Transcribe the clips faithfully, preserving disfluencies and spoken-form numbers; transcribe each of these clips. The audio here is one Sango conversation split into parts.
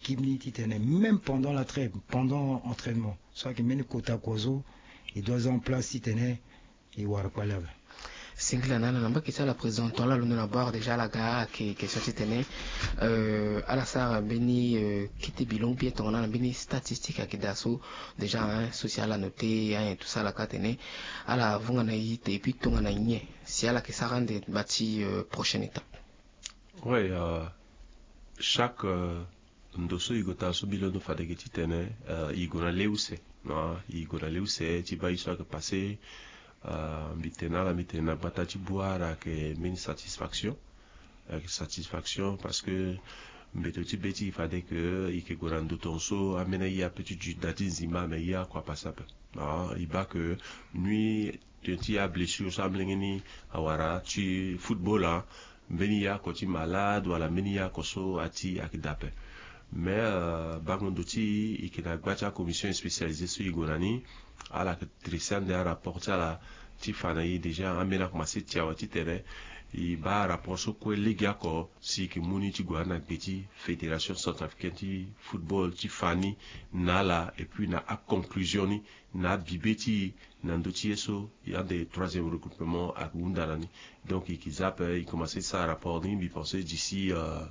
équipe ni titene même pendant la trêve, pendant entraînement, so ayeke mbeni kota kozo, e doit za en place titene e wara kpale ape. Singila na ala na mbage ti ala président, tongana ala londo na bord déjà ala ga ayeke question titene ala sara mbeni kete bilon bien tongana na mbeni statistique ayeke daa so déjà, hein, so si ala note, hein, tout ça ala ka tene ala vunga na e te et puis tongana nyen si ala yeke sara ande bati prochaine étape. Ouais, euh, chaque euh, ndo so e gue taa so mbi londo fade ge titene, euh, e gue na le use, ah, e gue na le use ti baa ye so ayeke passé. Euh, mbi tene na ala, mbi tene na gbata ti Bouar ayeke mbeni satisfaction. Ayeke satisfaction parce que mbeto ti be ti e fade ke e yeke gue na ndo tongaso ambeni aye ape ti duti na ti nzima, me ye oko apase ape. Ah, e baa ke nui tene ti ablessure so amolenge ni awara ti football, ah, mbeni ye oko ti malade wala mbeni ye oko so ati ayeke daa ape. Mais euh, bango ndo ti e, e yeke na gba ti acommission spécialisée so e gue na ni, ala yeke dressé ande arapport ti ala ti fa na e déjà. Ambeni akomanse ti awe titene e baa arapport so kue legeoko si e yeke mu ni ti gue na gbe ti fédération centrafricaine ti football ti fa ni na ala et puis na aconclusion ni na abibe ti e na ndö ti ye so ande troisième regroupement ahunda na ni. Donc e yeke za ape, e commencé ti sara rapport ni, mbi pensé d'ici euh,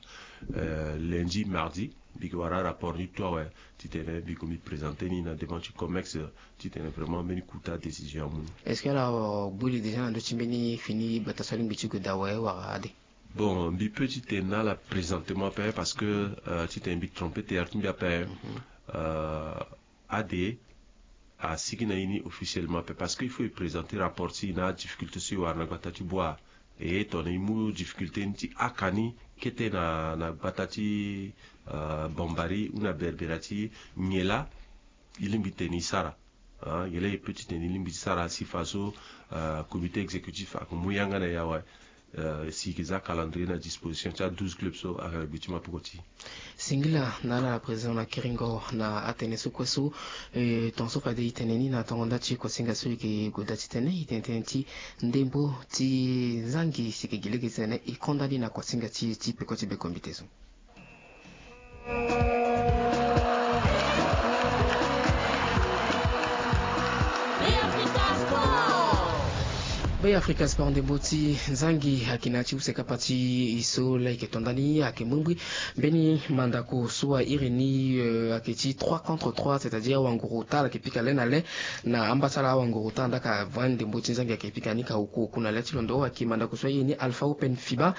euh, lundi, mardi mbi yeke wara rapport ni tout awe titene mbi yeke mbi présenté ni na devant ti Comex titene vraiment mbeni kota décision amu ni. Est-ce que ala gbu li déjà na ndö ti mbeni fini gbata so alingbi ti gue daa awe wala ade? Bon, mbi peut titene na ala présentement ape parce que euh, titene mbi trompé terre ti mbi ape. Mhm. Euh, ade asigi na e ni officiellement ape parce que il faut e présenter rapport ti e na adifficulté so e wara na gbata ti Bouar. E tongana e mu difficulté ni ti haka ni kete na, na gbata ti euh, Bambari ou na Berbera ti nyen laa e lingbi titene e sara. Ah, nyen laa e peut titene e lingbi ti sara si faso euh, comité exécutif ayeke mu yanga na e awe. Euh, si e yeke za calendrier na disposition ti a douze clubs so ayeke na gbe ti mapoko ti e. Singila na ala na président na kiringo na atene so kue so. Eh, tongaso fade e tene ni na tongo nda ti kosinga so e yeke gue daa titene e tene tënë ti ndembo ti zangi si e yeke gi lege titene e konda ni na kosinga ti e ti peko ti bekombite so. Be Africa Sport, ndembo ti zangi ayeke na ya ti use kapa ti e so laa e yeke to ndani ayeke mbrimbri. Mbeni mandako so a iri ni, euh, ayeke ti trois contre trois, c'est-à-dire awanguru ota ala yeke pika le na le na amba ti ala. Awanguru ota andaa ka vre ndembo ti zangi ayeke pika ni ka oku oku na le ti londo. Ayeke mandako so a iri ni Alpha Open fiba.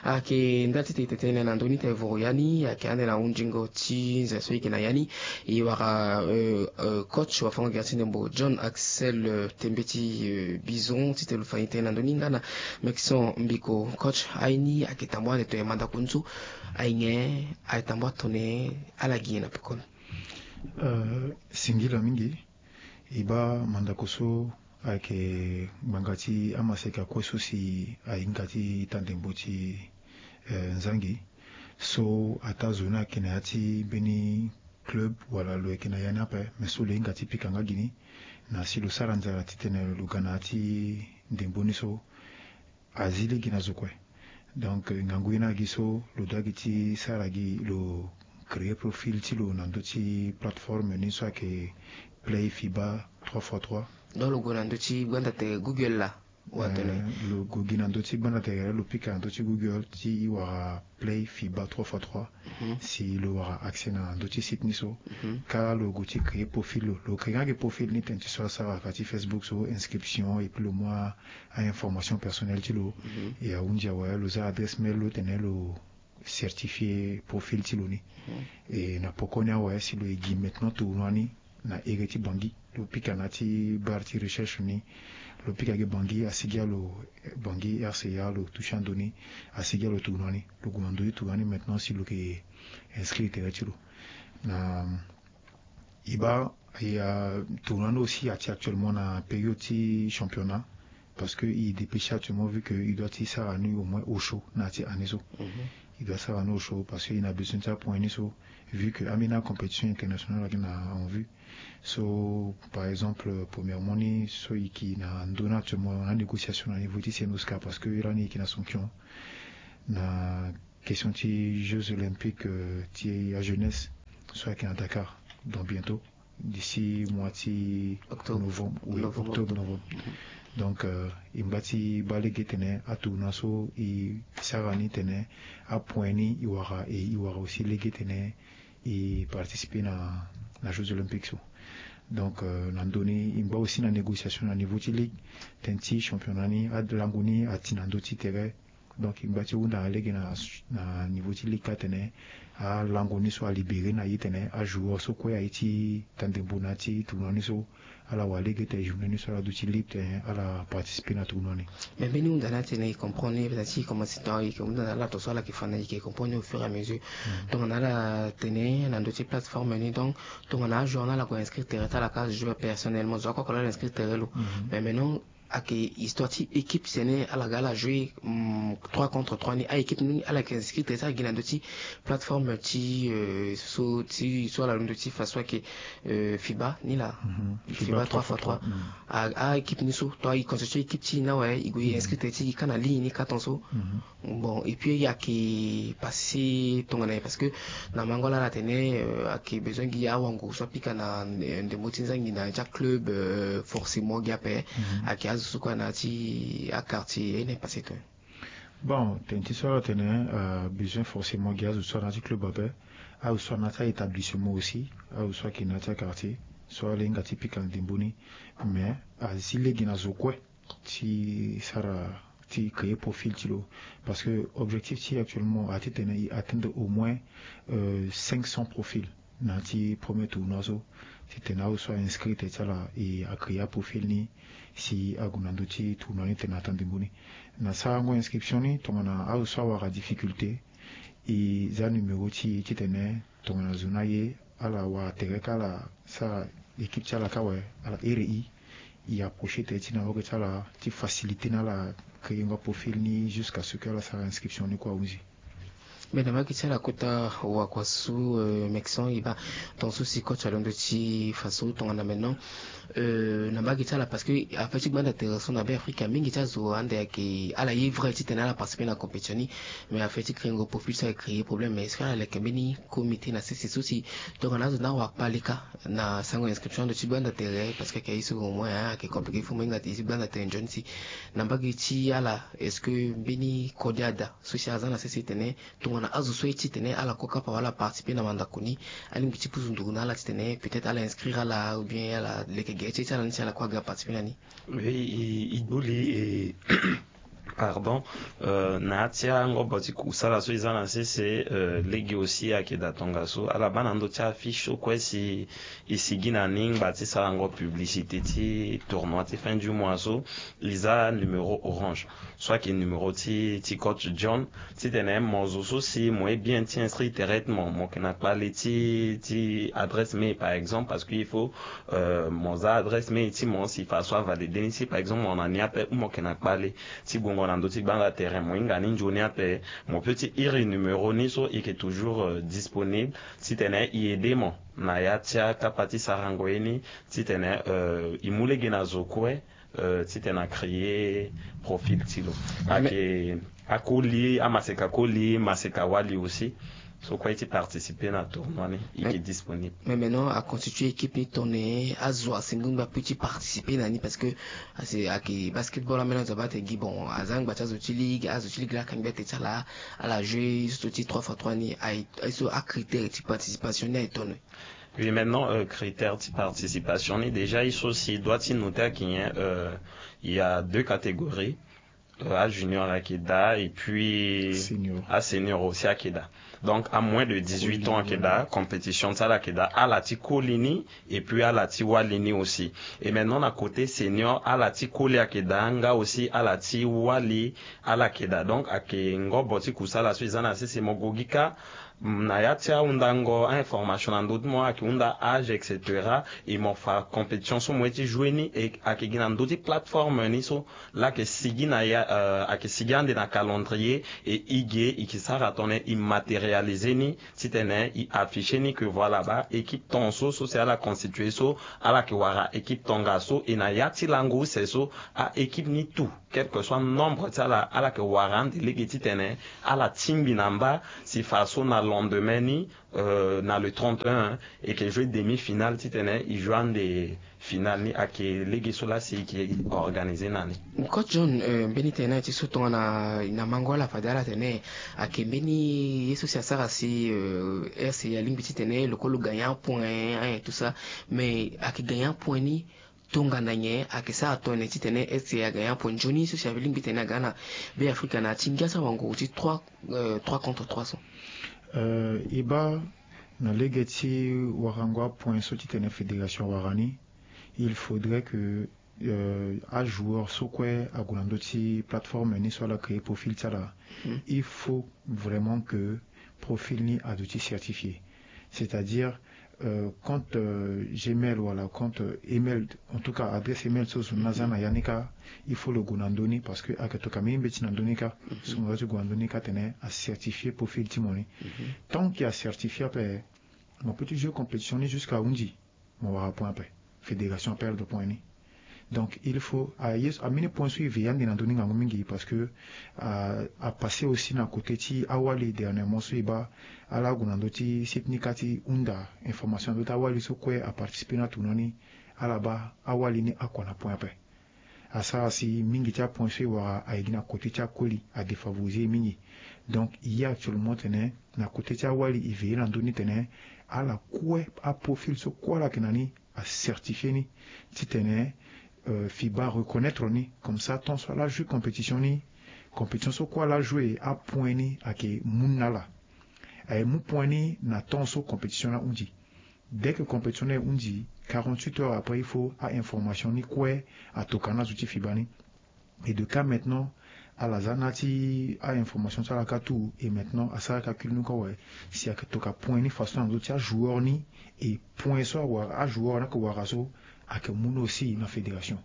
Ayeke nda ti tene tene na ndö ni tene voro ya ni ayeke ande na hunzingo ti nze so e yeke na ya ni. E wara euh, euh, coach wafango-gere ti ndembo John Axel, euh, Tembe ti euh, Bison titene lo fa ni tënë na ndö ni nga na Maxon Mbiko. Coach, aye ni ayeke tambua ande tongana mandako ni so aye nyen? Ayeke tambua tongana ala gi nyen na peko ni? Euh, singila mingi. E baa mandako so ayeke ngbanga ti amaseka kue so si ahinga ti ita ndembo ti eh, nzangi. So ataa zo ni ayeke na ya ti mbeni club wala lo yeke na ya ni ape, me so lo hinga ti pika nga gi ni na si lo sara nzara titene lo ga na ya ti ndembo ni so azi lege na zo kue. Donc ngangu ye ni agi so lo dua gi ti sara gi lo créer profil ti lo na ndö ti plateforme ni so ayeke Play Fiba trois fois trois. Donc lo gue na ndö ti gbanda tere Google laa? Watene. Eh, lo gue gi na ndö ti gbanda tere, lo pika na ndö ti Google ti e wara Play Fiba trois fois trois. Mhm. Si lo wara accès na ndö ti site ni so. Mhm. Kâ lo gue ti créer profil lo. Lo créer nga gi profil ni tene ti so asara ka ti Facebook so, inscription, et puis lo mu a information personnelle ti lo. Mhm. E ahunzi awe lo za adresse mail lo tene lo certifier profil ti lo ni. Mhm. E na poko ni awe si lo e gi maintenant tournoi ni na ere ti Bangui. Lo pika na ya ti barre ti recherche ni. Lo pika gi Bangui, asigi alo Bangui R C A, lo toucher ando ni, asigi alo tournoi ni. Lo gue na ndö ti tournoi ni maintenant si lo yeke inscrire tere ti lo. Na e baa, e, euh, tournoi ni aussi ati actuellement na période ti championnat. Parce que e dépêché actuellement vu que e doit ti sara ni au moins osio na ya ti année so. Mhm. E doit sara ni osio parce que e na besoin ti apoint ni so, vu que ambeni acompétition internationale ayeke na en vue. So par exemple, premièrement ni so e yeke na ndö ni actuellement na négociation na niveau ti Sen Oscar parce que e lani e yeke na sanction na question ti Jeux Olympiques, euh, ti ajeunesse. so ayeke na Dakar dans bientôt, d'ici mois ti octobre, novembre, oui, octobre, novembre. Donc, euh, e ngba ti baa lege tene atournoi so e sara ni tene apoint ni e wara, e e wara aussi lege tene e participer na na Jeux Olympiques so. Donc, euh, na ndö ni e ngba aussi na négociation na niveau ti ligue, tënë ti championnat ni alango ni ati na ndö ti tere. Donc e ngba ti hunda na lege na na niveau ti ligue kâ tene alango ni so alibéré na ye tene ajoueur so kue aye ti tandembo na ya ti tournoi ni so ala wara lege tene journée ni so ala duti libre tene ala participer na tournoi ni. Mais mbeni hunda ni atene e comprendre ni, parce que e commencer tonga e yeke hunda na ala tongaso ala yeke fa na e yeke comprendre ni au fur et à mesure. Tongana ala tene na ndö ti plateforme ni, donc tongana ajoueur ni ala gue inscrire tere ti ala kâ, azo joue personnellement, zo akue oko laa ala inscrire tere lo. Mais maintenant ayeke histoire ti équipe tene ala ga ala jouer trois contre trois ni, a-équipe ni ala yeke inscrire tere ti ala gi na ndö ti plateforme ti so ti so ala londo ti fa so ayeke FIBA ni laa. FIBA trois fois trois. A-équipe ni so, to e constitue équipe ti e ni awe, e gue e inscrire tere ti e kâ na ligne ni kâ tongaso. Bon, et puis ayeke passé tongana ye, parce que na mango ala ala tene ayeke besoin gi awango so apika na ndembo ti nzangi na ya ti aclub, forcément gi ape. Ayeke azo so kue na ya ti aquartier, ye ni passé to. Bon, tënë ti so ala tene besoin forcément gi azo so ana ya ti club ape, azo so ana ya ti a-établissement aussi, azo so ayeke na ya ti aquartier so ala hinga ti pika na ndembo ni. Mais azi lege na zo kue ti sara ti créer profil ti lo, parce que objectif ti e actuellement a titene e atteindre au moins cinq cents profils na ya ti premier tournoi so, titene azo so a-inscrire tere ti ala e acréer aprofil ni si ague na ndö ti tournoi ni titene atteindre ndembo ni. Na sarango inscription ni, tongana azo so awara difficulté, e za numéro ti e titene tongana zo ni aye ala wara tere kâ ala sara équipe ti ala kâ awe, ala here e, e approcher tere ti na wege ti ala ti faciliter na ala créer ngo aprofil ni jusqu'à ce que ala sara inscription ni kue ahunzi. Mais na mbage ti ala kota wakua so, Maxence, e baa tongaso si coach alondo ti fa so tongana maintenant na mbage ti ala, parce que affaire ti gbanda tere so na Beafrika mingi ti azo ande ayeke ala ye vrai titene ala participer na compétition ni. Mais affaire ti créer ngo profil so ayeke créer problème. Mais est-ce que ala leke mbeni comité na sese so si tongana azo ni awara kpale kâ na sango inscription ando ti gbanda tere, parce que ayeke ye so au moins ayeke compliqué, faut mo hinga ti gbanda tere nzoni si na mbage ti ala, est-ce que mbeni kode ada so si aza na sese titene tongana azo so aye titene ala kue kapa wala participer na mandako ni, alingbi ti pusu nduru na ala titene peut-être ala inscrire ala ou bien ala leke gere ti ye ti ala ni si ala kue aga participer na ni. Oui, e, e gbu li e pardon. Na ya ti angobo ti kusala so e za na sese, lege aussi ayeke daa tongaso ala baa na ndö ti affiche so kue si e sigi na ni ngba ti sarango publicité ti tournoi ti fin du mois so, e za numéro orange so ayeke numéro ti, ti coach John, titene mo zo so si mo ye bien ti inscrire tere ti mo, mo yeke na kpale ti, ti adresse mail par exemple, parce que il faut mo za adresse mail ti mo si fa so avalider ni si par exemple mo na ni ape ou mo yeke na kpale ti gongo na ndö ti gbanda tere, mo hinga ni nzoni ape, mo peut ti iri numéro ni so e yeke toujours disponible titene e aider mo na ya ti akapa ti sarango ye ni, titene e mu lege na zo kue titene a créer profil ti lo. Ayeke akoli, amaseka koli, maseka wali aussi. So kue ti participer na tournoi ni, e yeke disponible. Mais maintenant a constituer équipe ni tongana azo asengo ngba plus ti participer na ni, parce que ayeke basketball ambeni azo abaa tene gi bon aza ngba ti azo ti ligue, azo ti ligue laa akangi gbia tene ti ala, ala jouer so ti trois fois trois ni, aye so acritère ti participation ni aye tongana? Oui, maintenant critère ti participation ni, déjà e so si e doit ti noter ayeke nyen? Il y a deux catégories. Ajunior ayeke daa et puis asenior aussi ayeke daa. Donc a moins de dix-huit ans ayeke daa, compétition ti ala ayeke daa, ala ti koli ni et puis ala ti wali ni aussi. Et maintenant na côté senior, ala ti koli ayeke daa nga aussi ala ti wali ala yeke daa. Donc ayeke ngobo ti kusala so e za na sese. Mo gue gi kâ na ya ti ahundango a-information na ndö ti mo, ayeke hunda âge et cetera. E mo fa compétition so mo ye ti jouer ni, e ayeke gi na ndö ti plateforme ni so laa ayeke sigi na ya, ayeke sigi ande na calendrier. E e ge e yeke sara tongana e matérialiser ni titene e afficher ni que voilà baa équipe tongaso so si ala constituer so, ala yeke wara équipe tongaso. E na ya ti lango use so a-équipe ni tout quel que soit nombre ti ala ala yeke wara ande lege titene ala tingbi na mba si faso na lendemain ni, euh, na le trente et un, e yeke jouer demi-finale titene e jouer ande finale ni. Ayeke lege so laa si e yeke organiser na ni. Coach John, euh, mbeni tene na ye ti so tongana na mango ala fade ala tene ayeke mbeni ye so si asara si, euh, RCA alingbi titene lo kue lo gagner un point, hein, tout ça. Mais ayeke gagner un point ni tongana nyen? Ayeke sara tongana nyen titene RCA agagner un point nzoni so si alingbi titene aga na Beafrika na ya ti ngia so awango ti trois, euh, trois contre trois so? Euh, e baa na lege ti warango apoint so titene fédération awara ni, il faudrait que, euh, ajoueur so kue ague na ndö ti plateforme ni so ala créer profil ti ala. Il faut vraiment que profil ni aduti certifié. C'est-à-dire, euh, compte, euh, Gmail wala compte email, en tout cas adresse email so zo ni aza na ya ni kâ, il faut lo gue na ndö ni, parce que ayeke tokua mingi mbeti na ndö ni kâ. So mo za ti gue na ndö ni kâ tene acertifié profil ti mo ni. Tant que acertifié ape, mo peut ti jouer compétition ni jusqu'à ahunzi, mo wara point ape, fédération aperdre point ni. Donc il faut aye so, ambeni point so e veiller ande na ndö ni ngangu mingi, parce que, euh, apassé aussi na côté ti awali dernièrement so e baa ala ague na ndö ti site ni kâ ti hunda information na ndö ti awali so kue aparticiper na tournoi ni, ala baa awali ni akua na point ape. Asara si mingi ti apoint so e wara aye gi na côté ti akoli, adéfavoriser e mingi. Donc e ye actuellement tene na côté ti awali e veiller na ndö ni tene ala kue, aprofil so kue ala yeke na ni acertifié ni titene, euh, FIBA areconnaître ni. Comme ça tant so ala jouer compétition ni, compétition so kue ala jouer, apoint ni ayeke mu na ala. Aye mu point ni na temps so compétition ni ahunzi. Dès que compétition ni ahunzi, quarante-huit heures après, il faut a-information ni kue atokua na azo ti FIBA ni. Et de cas maintenant, ala za na ya ti a-information ti ala kâ tout. Et maintenant asara calcul ni kue awe, si ayeke tokua point ni façon na ndö ti ajoueur ni, et point so awara, ajoueur ni ayeke wara so, ayeke mu ni aussi na fédération.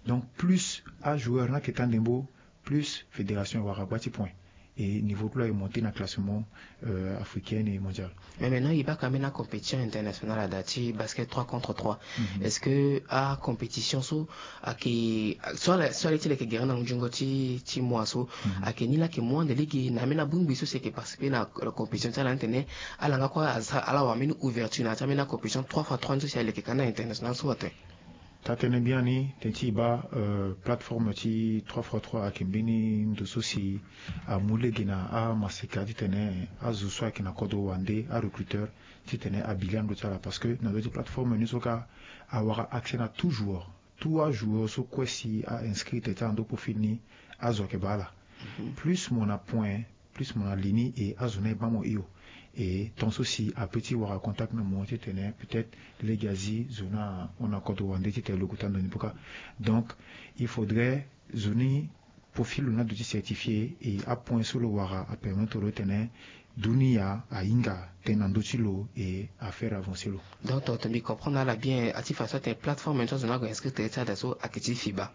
Donc plus ajoueur ni ayeke taa ndembo, plus fédération awara gba ti point. Et niveau ti lo aye monté na classement, euh, africain et mondial. Mais maintenant e baa ka ambeni acompétition internationale ada ti basket trois contre trois. Est-ce que acompétition so ayeke, so ala, so ala ye ti lo ayeke gere na ngunzungo ti, ti mois so, ayeke ni laa ayeke mu ande lege na ambeni abongbi so si ayeke participer na compétition ti ala ni tene ala nga kue ala wara ambeni ouverture na ya ti ambeni acompétition trois fois trois ni so si ala yeke ka na international so aten? Taa tënë biani tënë ti e baa, euh, plateforme ti trois fois trois ayeke mbeni ndo so si amu lege na amaseka titene azo so ayeke na kodro wande, arecruteur, titene abi lani ndo ti ala. Parce que na ndo ti plateforme ni so kâ awara accès na tout joueur. Tout ajoueur so kue si a-inscrit tere ti ala na ndo profil ni, azo ayeke baa ala. Plus mo na point, plus mo na li ni, e azo ni aye baa mo hio. E tant so si apeut ti wara contact na mo titene peut-être lege azi zo ni ahon na kodro wande titene lo gue taa ndo ni poko. Donc il faudrait zo ni profil lo ni aduti certifié, e apoint so lo wara apermettre lo titene dunia ahinga tënë na ndö ti lo e afaire avancer lo. Donc tongana mbi comprendre ala bien, a ti façon atene plateforme ni so azo ni ague inscrire tere ti ada so ayeke ti FIBA.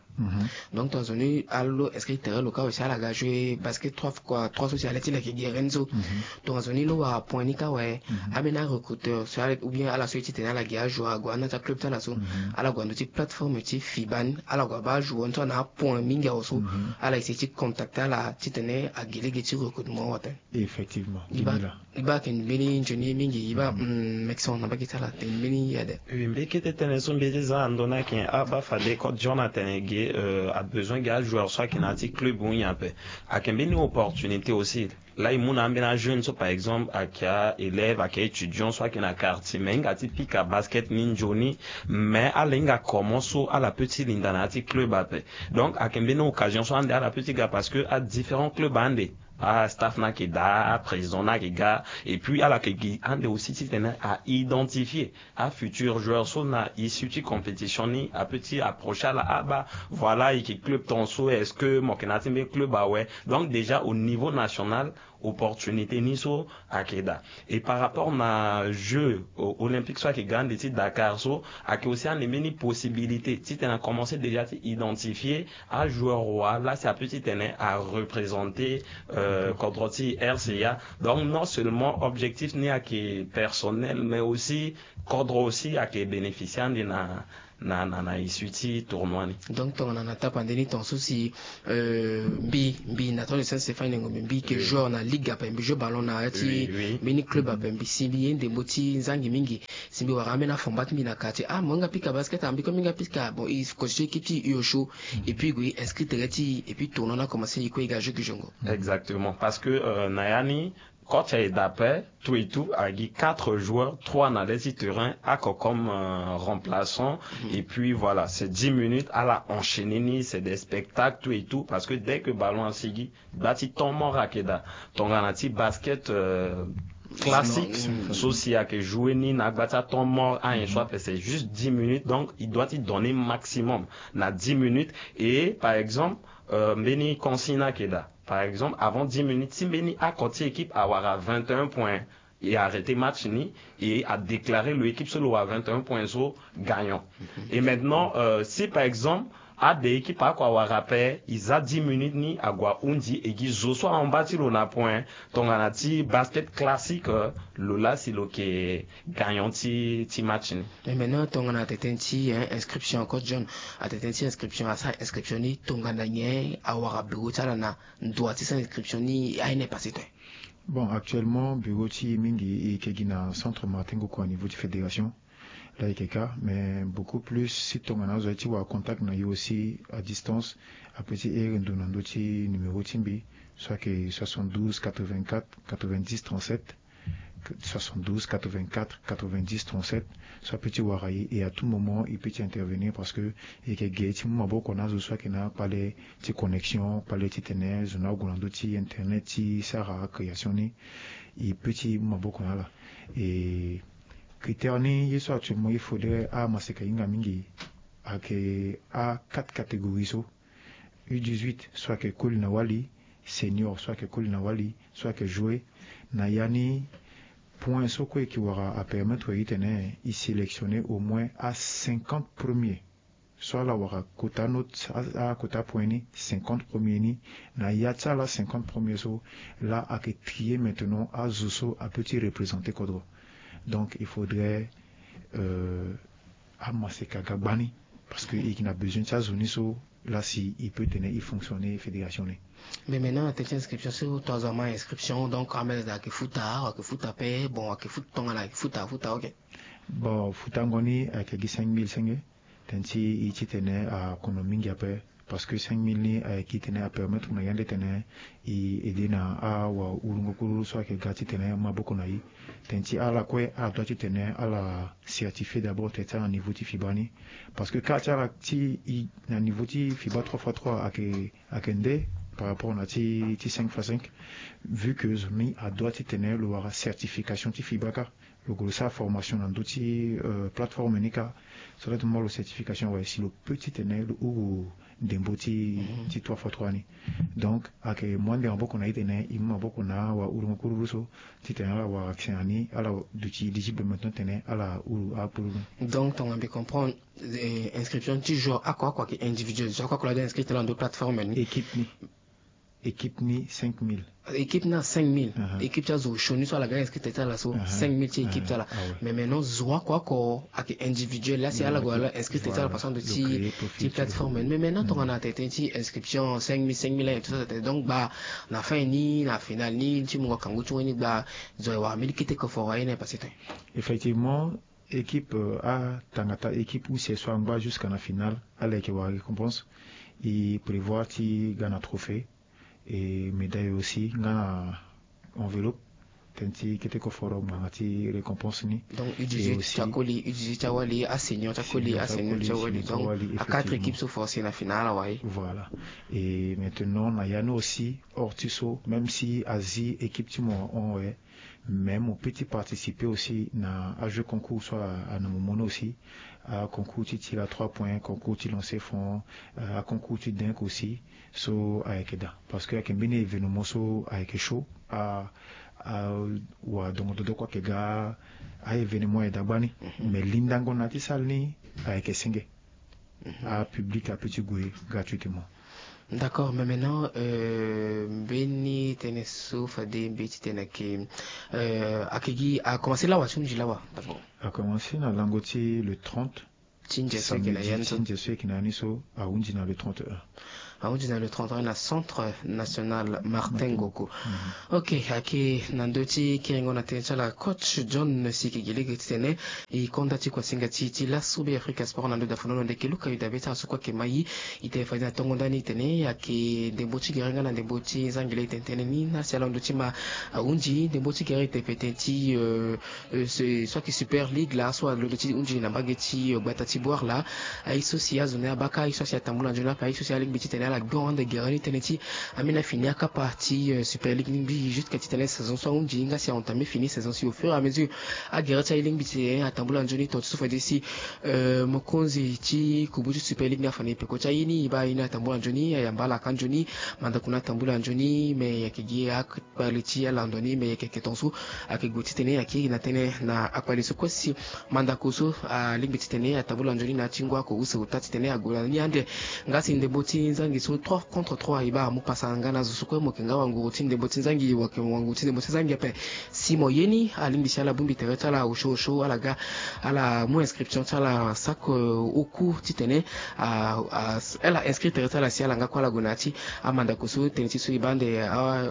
Donc tongana zo ni ala lo inscrire tere lo kâ awe si ala ga jouer basket trois fois trois so si ala ye ti lo ayeke gere ni so. Tongana zo ni lo wara point ni kâ awe, ambeni arecruteur so ala, ou bien ala so ye titene ala gi ajoueur ague na ti aclub ti ala so, ala gue na ndö ti plateforme ti FIBA ni, ala gue abaa ajoueur ni so ana apoint mingi awe so, ala essayer ti contacter ala titene agi lege ti recrutement awe aten. Effectivement. E baa, e baa ayeke mbeni nzoni mingi, e baa, mm, Maxon na mbage ti ala, ayeke mbeni yade. Oui, mbi kete tënë so mbi ye ti za na ndo ni ayeke abaa fade coach John atene ge, euh, abesoin ge ajoueur so ayeke na ya ti club ou nyen ape. Ayeke mbeni opportunité aussi. Laa e mu na ambeni ajeune so par exemple ayeke a-élève, ayeke a-étudiant so ayeke na quartier, mais e hinga ti pika basket ni nzoni, mais ala hinga comment so ala peut ti linda na ya ti club ape. Donc ayeke mbeni occasion so ande ala peut ti ga, parce que adifférent club ande, astaff ni ayeke daa, aprésident ni ayeke ga, et puis ala yeke gi ande aussi titene a-identifier afutur joueur so na issue ti compétition ni, apeut ti approcher ala, abaa, voilà, e yeke club ton so, est-ce que mo yeke na ya ti mbeni club awe? Donc déjà au niveau national, opportunité ni so ayeke daa. Et par rapport na jeux, euh, olympiques so ayeke ga ande ti Dakar so, ayeke aussi ande mbeni possibilité titene a commencer déjà ti identifier ajoueur wa laa si apeut titene a représenter, euh, kodro ti RCA. Donc non seulement objectif ni ayeke personnel, mais aussi kodro aussi ayeke bénéficier ande na na na na issue ti tournoi ni. Donc tongana na tapa nde ni ton so si euh, mbi mbi na ton de Saint Stéphane Ngombe mbi ke joueur na ligue ape, mbi joue ballon na ya ti mbeni club ape, mbi si mbi ye ndembo ti nzangi mingi. Si mbi wara ambeni afomba ti mbi na quartier, ah mo hinga pika basket, ah mbi ko mbi hinga pika. Bon, il constitue équipe ti U O Show. Et puis gue inscrit tere ti, et puis tournoi na commencé, il ko i ga jeu ki jongo. Exactement, parce que euh, na ya ni coach aye d'après tout et tout agi quatre joueurs, trois na le ti terrain ako comme euh, remplaçant. Et puis voilà, c'est dix minutes à la enchaîné ni, c'est des spectacles tout et tout, parce que dès que ballon asigi, gba ti temps mort ayeke daa. Tongana ti basket euh, classique so si ayeke joué ni na agba ti atemps mort anyen so ape, c'est juste dix minutes, donc il doit ti donner maximum na dix minutes. Et par exemple euh, mbeni consigne ayeke daa. Par exemple, avant dix minutes, si mbeni ako ti équipe awara vingt et un points, e arrêté match ni, e a déclaré lo équipe so lo wara vingt et un points so gagnant. Et maintenant euh, si par exemple ade équipe ako awara ape, e za dix minutes ni ague ahundi, e gi zo so ahon baa ti lo na point. Tongana ti basket classique euh, lo laa si lo yeke gagnant ti ti match ni. Mais maintenant tongana atene tënë ti hein, inscription, coach John, atene tënë ti inscription, asara inscription ni tongana nyen? Awara bureau ti ala na ndo ti sara inscription ni, aye na e passé te? Bon, actuellement bureau ti e mingi e yeke gi na centre Martin Ngoko à niveau ti fédération. Là e yeke ka, mais beaucoup plus si tongana azo aye ti wara contact na e aussi à distance, ape ti here ndo na ndö ti numéro ti mbi, so ayeke soixante-douze quatre-vingt-quatre quatre-vingt-dix trente-sept, soixante-douze quatre-vingt-quatre quatre-vingt-dix trente-sept. So ape ti wara e, et à tout moment e peut ti intervenir, parce que e yeke ge ti mu maboko na azo so ayeke na akpale ti connexion, kpale titene zo na ague na ndö ti internet ti sara création ni, e peut ti mu maboko na ala. Et critère ni, ye so actuellement il faudrait amaseka hinga mingi, ayeke a quatre catégories so: U dix-huit so ayeke koli na wali, senior so ayeke koli na wali, so ayeke joué. Na ya ni, point so kue e yeke wara apermettre e titene e sélectionner au moins a cinquante premiers. So ala wara quota note, a, a quota point ni, cinquante premiers ni, na ya ti ala cinquante premiers so, là ayeke trier maintenant azo so apeut ti représenter kodro. Donc il faudrait euh, amaseka ga gbani, parce que e yeke na besoin ti azo ni so, là si e peut tene e fonctionner fédération ni. Mais maintenant atene ti inscription so, to azo ama inscription, donc amene daa ayeke futa, ayeke futa ape? Bon, ayeke futa tongana ayeke futa, afuta, ok. Bon, futango ni ayeke gi cinq mille senge. Tënë ti e titene akono mingi ape, parce que cinq mille ni ayeke titene apermettre na yande titene e aidé na awahurungo kuru so ayeke ga titene maboko na e. Tënë ti ala kue adoit titene ala certifier d'abord tënë ti ala na niveau ti FIBA ni. Parce que kâ ti ala ti e na niveau ti FIBA trois fois trois ayeke, ayeke nde par rapport na ti, ti cinq fois cinq, vu que zo ni adoit titene lo wara certification ti FIBA kâ. Lo gue lo sara formation na ndö ti euh, plateforme ni kâ. So la ti mu lo certification, ouais, si lo peut titene lo huru ndembo ti, ti trois fois trois ni. Donc ayeke mu ande maboko na e titene e mu maboko na awahurungo kuru so titene ala wara accès na ni, ala duti éligible maintenant titene ala huru akpululu. Donc tongana mbi comprendre, eh, inscription ti joueur oko oko ayeke individuel, joueur oko oko la doit inscrire titene na ndö plateforme ni. Équipe ni, équipe ni cinq mille. Équipe ni na cinq mille. Équipe ti azo sioni so ala ga inscrit tene ti ala so, cinq mille ti équipe ti ala. Mais maintenant zo oko oko ayeke individuel, la si ala gue ala inscrit tene ti ala parce que ando ti, ti plateforme. Mais maintenant tongana tene ti inscription cinq mille, cinq mille et tout ça, donc gba na fin ni, na finale ni ti mungo kangu ti wani gba, zo aye wara mbeni kete koforo aye na e passé te? Effectivement, équipe euh, atangata équipe use so angba jusqu'à na finale, ala yeke wara récompense. E prévoir ti ga na trophée et médaille aussi, nga na enveloppe. Tënë ti kete koforo ngbanga ti récompense ni. Donc U dix-huit ti akoli, U dix-huit ti awali, asenior ti akoli, asenior ti awali. Donc a quatre équipes so forcé na finale awe. Voilà. Et maintenant na ya ni aussi, hors ti so, même si azi équipe ti mo ahon awe, mais mo peut ti participer aussi na ajeu concours so a, a na mo mo ni aussi. Aconcours ti tir à trois points, concours ti lancer franc, euh, aconcours ti dunk aussi. So ayeke daa parce que ayeke mbeni événement so ayeke chaud. A, a, wala dongo dodo kue ayeke ga a-événement aye daa gbani. Mais lindango na ya ti salle ni ayeke senge. Apublic apeut ti gue gratuitement. D'accord, mais maintenant euh, mbeni tënë so fade mbi ti tene ayeke, euh, ayeke gi, a commencé lawa, ti hunzi lawa d'abord? A commencé na lango ti le trente ti nze so eke na ya ni so. Ti nze so eke na ya ni so ahunzi na le trente et un. Ahunzi na le trente et un na centre national Martin Ngogo. Ok, ayeke na ndö ti kiringo na tënë ti ala coach John si eke gi lege titene e konda ti kuasinga ti e ti laso Be Afrika Sport na ndö dafonono ndeke luka yu dabe ti ala so kue ayeke mai. E tene fade na tongo ndani titene ayeke ndembo ti gere nga na ndembo ti zangi laa e tene tënë ni na si ala londo ti ma ahunzi ndembo ti gere e tene fade ti so ayeke Super League laa so alondo ti hunzi na mbage ti gbata ti Bouar laa. Aye so si azo ni abaka aye so asi atambula nzoni ape aye so si alingbi titene ala gbe ande gere ni tënë ti ambeni afini akapa ti Super League ni mbi jusqu'à titene saison so ahunzi nga si ahon tame fini saison si au fur et à mesure agere ti aye lingbi titene atambula nzoni tonga ti so fade si mokonzi ti kubu ti Super League ni afa na e peko ti aye ni e baa aye ni atambula nzoni ayamba ala ka nzoni mandako ni atambula nzoni me ayeke gi akpale ti ala ndo ni me ayeke yeke tonga so ayeke gue titene ayeke na tënë na akpale so kue si mandako so alingbi titene atambula nzoni na ya ti ngu ako use ota titene ague na ni ande. Nga si ndembo ti nzangi so trois contre trois e baa amu pasa nga na azo so kue mo yeke nga wanguru ti ndembo ti nzangi mo yeke wanguru ti ndembo ti nzangi ape. Si mo ye ni alingbi si ala bongbi tere ti ala osio osio ala ga ala mu inscription ti ala sako oku titene ala inscrit tere ti ala si ala nga kue ala gue na ya ti amandako so tënë ti so e baa ande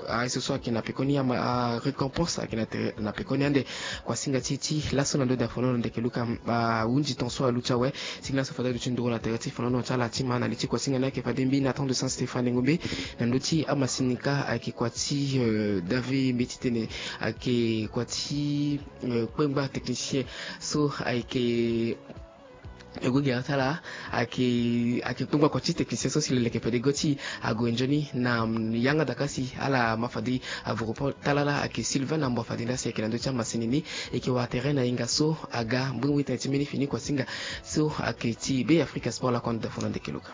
aye so so ayeke na pekoni arécompense ayeke na pekoni ande. Kuasinga ti e ti laso na ndö dafonono ndeke luka ahunzi ton so alu ti awe. Ti laso fade aduti nduru na tere ti fonono ti ala ti ma na li ti kuasinga ni ayeke fade mbi na temps de saint Stéphane Ngombe. Na ndö ti amasini ka ayeke kua ti David mbi titene ayeke kua ti kpengba technicien so ayeke ego gere ti ala ayeke ayeke kpengba kua ti technicien so si lo leke fade go ti ague nzoni na yanga daka si ala ma fade avuru po talala ayeke Sylvain na mbo fade nda si ayeke na ndö ti amasini ni. Eke wara tere na hinga so aga mbwengbe tene ti mbeni fini kuasinga so ayeke ti Be Afrika Sport lakue na dafonono ndeke luka.